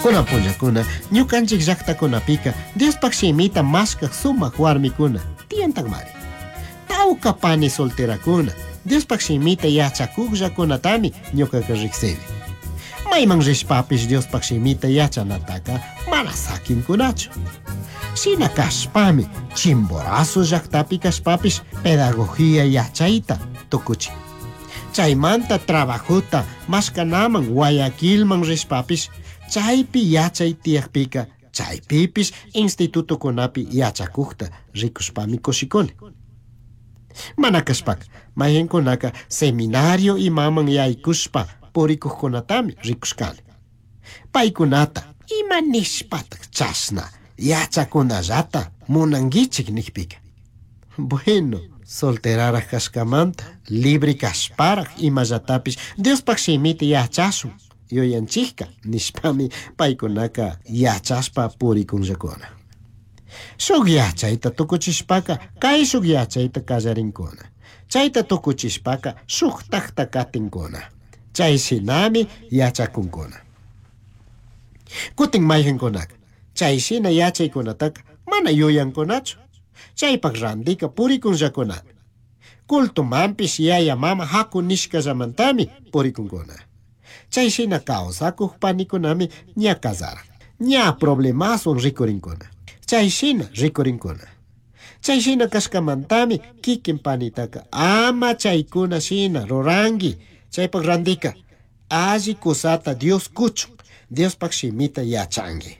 Kunan punllakuna ñukanchik llaqtakunapika Diospaq shimita mashkaq sumaq warmikuna tiyantakmari. Tawka pani solterakuna Diospaq shimita yachakuqllakunatami ñuqaqa riqsini. Mayman rishpapish Diospaq shimita yachanataka mana sakinkunachu. Shina kashpami Chimborazo llaqtapi kashpapish pedagogía yachayta tukuchin. Chaymanta trabajota mashkanaman Guayaquilman rishpapish chaypi yachay tiyaqpika chaypipish institutokunapi yachakuqta rikushpami kushikuni. Mana kashpaka mayqinkunaka seminario imaman yaykushpa purikuqkunatami rikushkani. Paykunata ima nishpataq chashna yachakunallata munankichik niqpika. Bueno, solteraraq kashkamanta libre kashparaq imallatapish Diospaq shimita yachashun yuyanchikka nishpami paykunaka yachashpa purikunllakuna. Shuk yachayta tukuchishpaka kayshuk yachayta kallarinkuna. Chayta tukuchishpaka shuktakta katinkuna. Chay shinami yachakunkuna. Kutin mayqinkunaka chay shina yachaykunataka mana yuyankunachu. Chaypaq randika purikunllakunami. Cultumanpish yaya mama haku nishkallamantami purikunkuna. Chay shina kawsakuq panikunami ña kasaran. Ña problemaswan rikurinkuna. Chay shina rikurinkuna. Chay shina kashkamantami kikin panitaka ama chaykuna shina ruranki. Chaypaq randika alli kusata Dios kuchun. Diospaq shimita yachanki.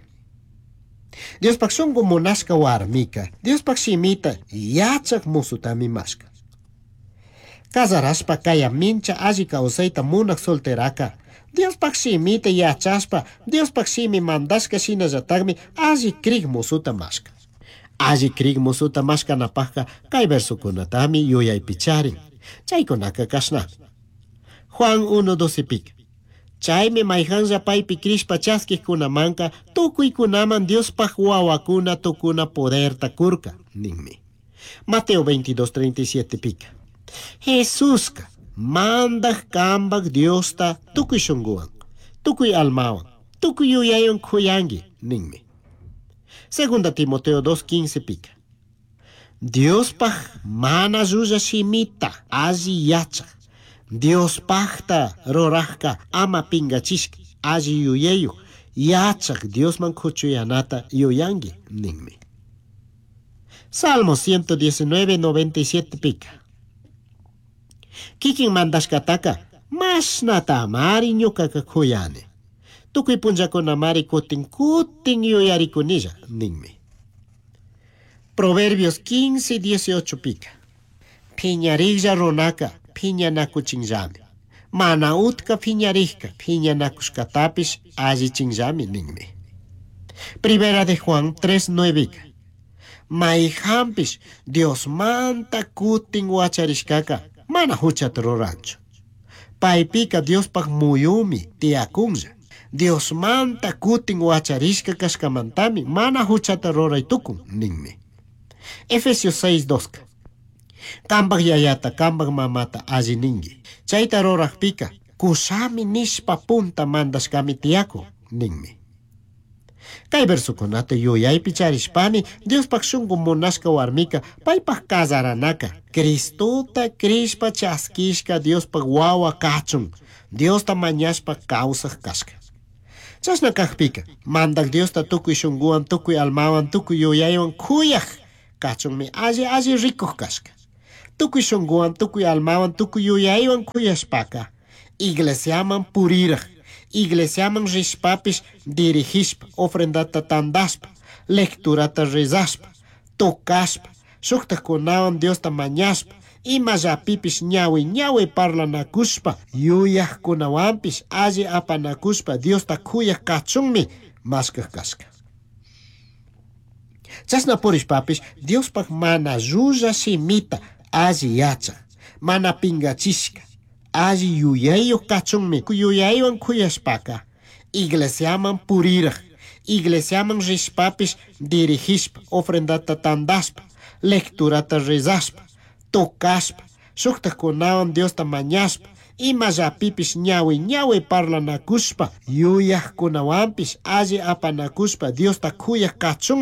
Diospaq shunqu munashka warmika Diospaq shimita yachaq musutami mashka. Kasarashpa kaya mincha alli kawsayta munaq solteraka Diospaq shimita yachashpa Diospaq shimi mandashka shinallataqmi alli krik musuta mashka. Alli krik musuta mashkanapaqqa kay versokunatami yuyaypi charin. Chaykunaka kashnami. Juan 1.12 pika. Chaymi mayqanlla paypi krishpa chaskiqkunamanka tukuykunaman Diospaq wawakuna tukuna poderta kurka ninmi. Mateo 22.37 pika. Jesuska mandaq kambaq Diosta tukuy shunquwan, tukuy almawan, tukuy yuyaywan khuyanki ninmi. Segunda Timoteo 2.15 pika. Diospaq mana llulla shimita alli yachaq. Diospaqta ruraqka ama pinkachishka alli yuyayuq yachaq Diosman kuchuyanata yuyanki ninmi. Salmo 119.97 pika. Kikin mandashkataka mashnatamari ñuqaka khuyani. Tukuy punllakunamari kutin kutin yuyarikunilla ninmi. Proverbios 15.18 pika. Phiñariklla runaka phiñanakuchinllami. Mana utka phiñarikka phiñanakushkatapish allichinllami ninmi. Primera de Juan 3.9 Mayqanpish Diosmanta kutin wacharishkaka mana huchata ruranchu. Paypika Diospaq muyumi tiyakunlla. Diosmanta kutin wacharishka kashkamantami mana huchata ruray tukun ninmi. Efesios 6.2 Kambaq yayata, kambaq mamata alli ninki. Chayta ruraqpika kushami nishpa punta mandashkami tiyakun ninmi. Kay versokunata yuyaypi charishpami Diospaq shunqu munashka warmika paypaq kasaranaka Cristota krishpa chaskishka Diospaq wawa kachun Diosta mañashpa kawsaq kashka. Chashna kaqpika mandaq Diosta tukuy shunquwan tukuy almawan tukuy yuyaywan khuyaq kachunmi alli alli rikuq kashka. Tukuy shunquwan tukuy almawan tukuy yuyaywan khuyashpaka iglesiaman puriraq iglesiaman rishpapish dirigishpa ofrendata tandashpa lecturata rezashpa tocashpa shuktakkunawan Diosta mañashpa imallapipish ñawi ñawi parlanakushpa yuyaqkunawanpish alli apanakushpa Diosta khuyaq kachunmi mashkaq kashka. Chashna purishpapish Diospaq mana llulla shimita alli yachaq mana pinkachishka alli yuyayuq kachunmi yuyaywan khuyashpaka iglesiaman puriraq iglesiaman rishpapish dirigishpa ofrendata tandashpa lecturata rezashpa tocashpa shuktakkunawan Diosta mañashpa Imallapipish ñahui ñahui parlanacushpa, yuyajcunahuanpish alli apanacushpa Diosta cuyaj cachunmi.